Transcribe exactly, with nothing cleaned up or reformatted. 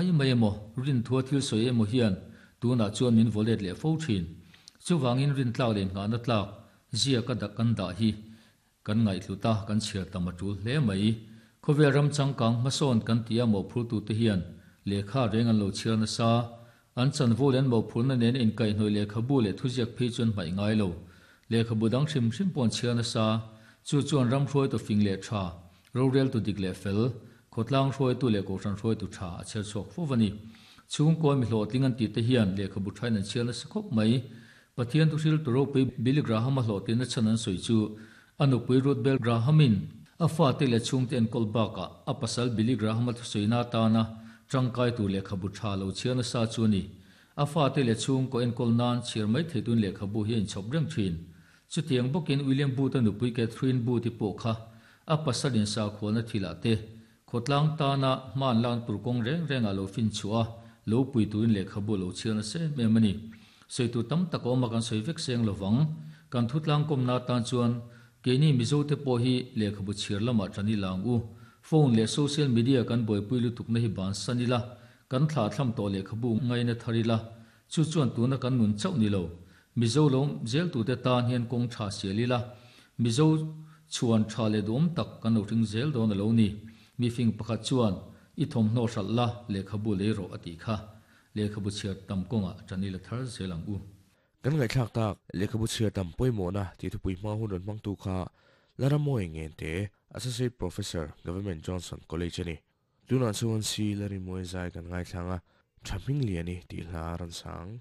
mai mai emaw rin thua thil sawi emaw hian tunah chuan min vaw let leh fo thin. Chuvangin rin tlak leh nghahna tlak ziaka dah kan dah hi kan ngaihhlut a, kan chhiar tam a tul hle mai. Khawvel ram changkang hmasawn kan tia mawhphurtute hian lehkha reng an lo chhiar nasa. An chanvo leh an mawhphurna nen inkaihhnawih lehkhabu leh thuziak phei chu an hmaih ngai lo. Lehkhabu dang hrim hrim pawh an chhiar nasa. Chu chuan ram hruaitu fing leh tha, roreltu dik leh fel, khawtlang hruaitu leh kohhran hruaitu tha a chher chhuak fo a ni. Chhungkaw mi hlawhtling an tih te hian lehkhabu thain an chhiar nasa khawp mai. Pathian thuhril tu ropui Billy Graham-a hlawhtlinna chhan an sawi chu a nupui Ruth Bell Graham-in a fate leh chhungte enkawl bakah a pasal Billy Graham-a thusawiina atana tangkai tur lehkhabu tha lo chhiar nasa chu a ni. A fate leh chhungkaw enkawl nan chhiar mai thei tun lehkhabu hi a inchhawp reng thin. Chutiang bawkin William Booth-a nupui Catherine Booth-i pawh kha a pasal insakhualna thilah te khawtlang tana hman lan tur kawng reng rengah lo fin chhuah a, lo pui turin lehkhabu lo chhiar nasa em em a ni. Sawi tur tam tak a awm a, kan sawi vek seng lovang. Kan thutlang kawmna atan chuan keini Mizote pawh hi lehkhabu chhiar lamah tan ila ang u. Phone leh social media kan buaipui lutukna hi bansan ila, kan thlah thlam tawh lehkhabu ngaina thar ila, chu chuan tuna kan nun chauh ni lo. Mizo lo zeltute tan hian kawng tha sial ila, Mizo chhuan tha leh duhawm tak kan lo hring zel dawn a lo ni. Mifing pakhat chuan i thawmhnaw hralh la, lehkhabu lei rawh a tih kha. Lehkhabu chhiar tam kawngah tan ila thar zel ang u. Kan ngaihthlak tak, lehkhabu chhiar tam pawimawhna tih thupui hma hun rawn hmangtu kha Laramoy Ngente, Associate Professor, Government Johnson College a ni. Tunah chuan si Larimoy zai kan ngaithlang a, Tha hming lian i tih hla a rawn sang.